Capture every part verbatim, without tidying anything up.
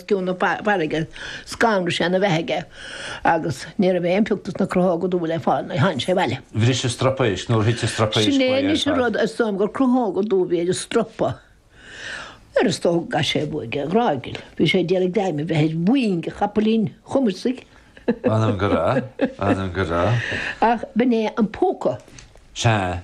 cionn na farraige, scanraigh sé ina bheathaidh é agus ní raibh aon phioc dos na crothóga dubha le fáil nuair a tháinig sé abhaile. Bhris an stropa éisc, nuair a thit an stropa éisc Sin é uaidh ar anois an fad. rud, is dóigh liom gur crothóga dubha a bhí ar an stropa. Ar is dócha go gcaith sé uaidh a ghráigeal. Bhí sé ag iarraidh greim a bheith ar mhoing a chapaillín chumasaigh. M'anam go raibh, m'anam go raibh. Ach b'in é an púca. Sea.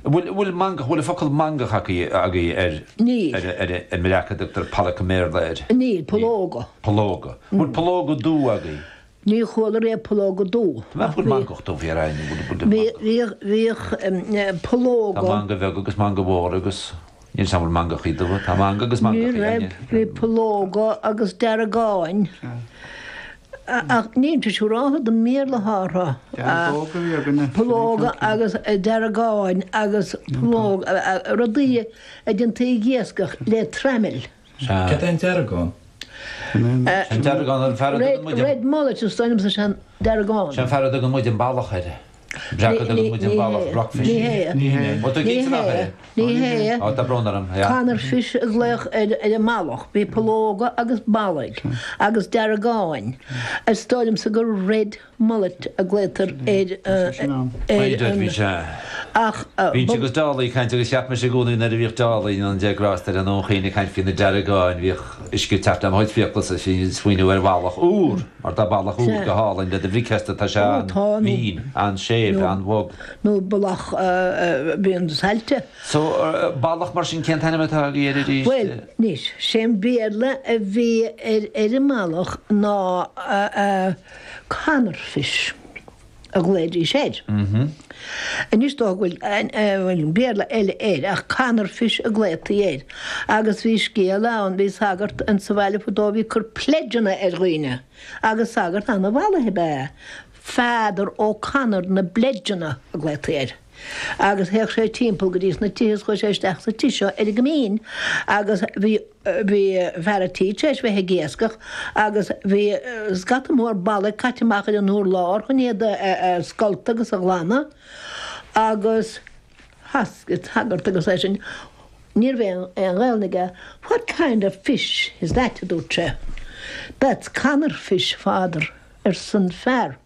Bhfuil, bhfuil mangach, bhfuil an focal mangach agaibh, agaibh ar, Níl. ar, ar, ar an mbreac a dtugtar pollock i mBéarla air? Níl, pollóga. Pollóga. Bhfuil pollóga dubha agaibh? Ní chuala riamh pollóga dubha. Tá mé bhfuil mangach dubh ar aon, bhfuil, bhfuil Bhí, mangach. bhíodh, bhíodh pollóga. Tá manga bheag agus manga mhór agus níl 's agam bhfuil mangachaí dubha. Tá manga agus Ní mangachaí, raibh, bhí pollóga agus deargáin. Ach níl sé siúrálta don mBéarla atá orthu. Deargóga a bhí againne. Pollóga agus deargáin agus pollóga, rudaí a déantaí ag iascach le traimil. Sea. Cad é an deargán? An deargán an fear a dtugann muid an. Red mullet is dóigh liomsa sé an deargán. Sé an fear a dtugann muid an ballach air. Breac a dtugann muid an ballach, rockfish. Ní hé. Ní hé. Ó, tá cinnte nach é. Ní hé. Ó, tá brón orm, yeah. Conor fish a glaodh ar ar an mballach. Bhí pollóga agus ballaigh agus deargáin. Is dóigh liomsa gur red mullet a glaotar ar ar B'fhéidir, an bhí sé. ach Bhínnse agus Dálaí ag caint agus cheap mise i gcónaí nuair a bhíodh Dálaí an Dé grásta air i nDún Chaoin ag caint faoi na deargáin, bhíodh uisce ag teacht le mo chuid fiacla is bhínn ag smaoineamh ar bhallach úr, mar tá ballach úr Sea. go hálainn le do bhricfeasta, tá sé Ó, tá, nó an-mhín, an-séimh, nó an-bhog. nó ballach a bhíonn saillte. So, ballach mar sin, cén t-ainm atá agaibh air arís? Bhuel, anois, sé an Béarla a bhí ar ar an mballach ná Conor fish a ghlaoidís air. Anois dócha go bhfuil bhfuil Béarla eile air ach Conor fish a glaotaí air. Agus bhí scéal ann, bhí sagart in sa bhaile fadó a bhí ag cur pledgeanna ar dhaoine agus sagart ana-mhallaithe ab ea é. Father O'Connor na bPledgeanna a glaotaí air. Agus théadh sé timpeall go dtí sna tithe is chuaigh sé isteach sa tigh seo ar an gCoimín agus bhí bhí fear a' tí tar éis bheith ag iascach agus bhí scata mór ballaigh caite amach ar an urlár chun iad a scoltadh agus a ghlanadh agus chas an sagart agus eisean ní raibh aon Ghaelainn aige What kind of fish is that? a dúirt sé. That's Conor fish, father, arsa an fear.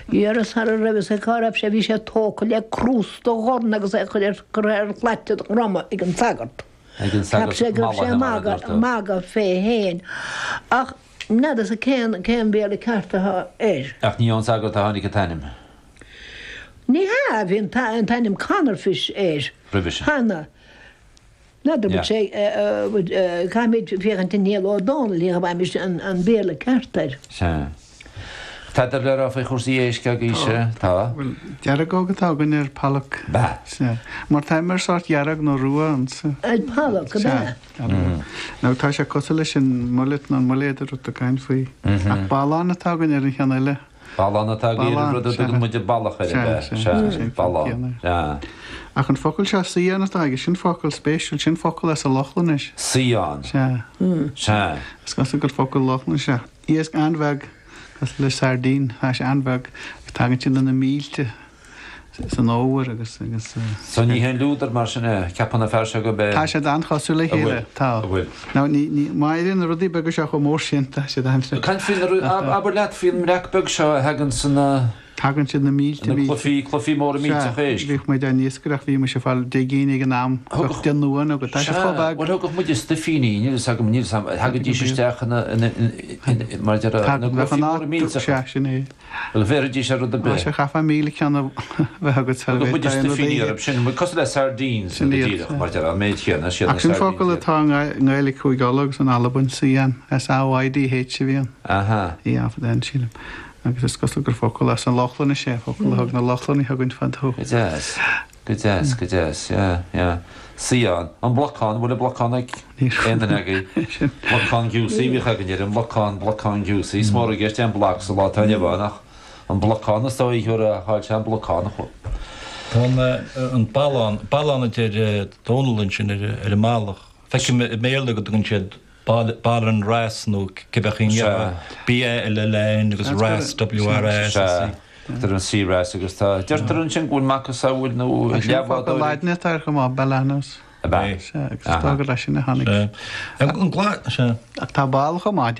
Dhera sara raibh fhios ag cá raibh sé bhí sé tógtha le crústa dhorn agus é curtha ar shlait a dhroma ag an sagart. Ag an Cheap sagart sé go raibh sé mallaithe mar a magadh dúirt tú. magadh fé fhéin. Ach n'fheadar sa cén cén Béarla ceart atá air. Ach ní ón sagart a tháinig an t-ainm. Ní hea, bhí an t- an t-ainm Conor fish air. Roimhe sin. Cheana. N'fheadar Yeah. bhfuil sé caithfimid féachaint i Niall Ó Dónaill le go bhfaighimid an an Béarla ceart air. Sea. Tada le rá faoi chúrsaí éisc agaibhse? Tá. Bhuel, deargóg atá againn ar pollock. Ba. Sea. Mar tá mar sórt dhearg nó rua ansa. Ar pollock, ab ea? Sea. Nó tá sé cosúil leis an mullet nó an mullet a rud a caint faoi. Ach ballán atá againn ar an cheann eile. Ballán atá agaibh ar an rud a dtugann muid ballach air, ab ea? Sea, Sea, sea, ballán. Sea. Ach an focal seo saidheán atá aige, sin focal spéisiúil, sin focal as an Lochlainnis. Saidheán. Sea. Sea. Is cosúil gur focal Lochlainnis é. Iasc an-bheag, cosúil le sardine, tá sé an-bheag, agus tagann siad ina mílte san fhómhar agus agus. So ní haon liúdar mar sin é, ceapann an fear seo gurb é. Tá siad an-chosúil le A bhfuil, chéile, tá. a bhfuil. Nó ní, ní, má éiríonn na rudaí beaga seo chomh mór sin, tá siad an. Caint faoi na ru-, ab, abair leat faoin mbreac beag seo a thagann sna. Tagann siad na mílte, Na mílte. cluichí, cluichí móra millteach Sea, éisc. bhíodh muid á n-iascaireacht, bhí mise ag fáil deich gcinn ag an am, Thugadh. bheadh deich n-uain agat, tá siad Sea, chomh beag. bhuel thugadh muide stuifíní, níl fhios agam, níl fhios agam, thagaidís isteach ina, ina, ina, mar a déarfá, Tagann, na bheadh cluichí an móra áit, millteacha. sea, sin é. Bhuel, bhéarfaidís ar rud ar Á, bith. sea, chaithfeá míle ceann a bheith agat sara Thugadh muide bhféadfá aon rud a stuifíní ithe. orthu, sin, cosúil le sardines, Sin go iad, díreach, sea. mar a déarfá, an méid chéanna, siad na Ach sin sardines focal iad. atá i nGaeilge Chúige Uladh agus in Albain, saidhean, S A Y D H a bhíonn. Aha. Í an sílim. Agus is cosúil gur focal as an Lochlainnis é, focal a thug na Lochlannaigh chugainn fadó. Go deas, go deas, go deas, yeah, yeah. Saidheán, an blocán, bhfuil an blocán ag aon duine agaibh? Blocán giúsaí, bhíodh againn air, an blocán, blocán giúsaí. Is mór i gceist é an bloc sa lá atá inniu ann ach an blocán is dóigh a chaill sé an blocán a chur. Tá an, an ballán, ballán a deir Dónall ansin ar, ar an mballach. Feicim i mBéarla go dtugann siad Ballan wrasse nó cibé Sea. B A L L A N agus wrasse W R A S S E. Sea, tugtar an sea wrasse agus tá, deirtear ansin go bhfuil macasamhail nó Sin focal leathbhádóirí. Laidine atá air chomh maith, Balanus. Ab ea? Sea, agus is dóigh gur leis sin a tháinig. An gla, sea. Ach tá ball chomh maith,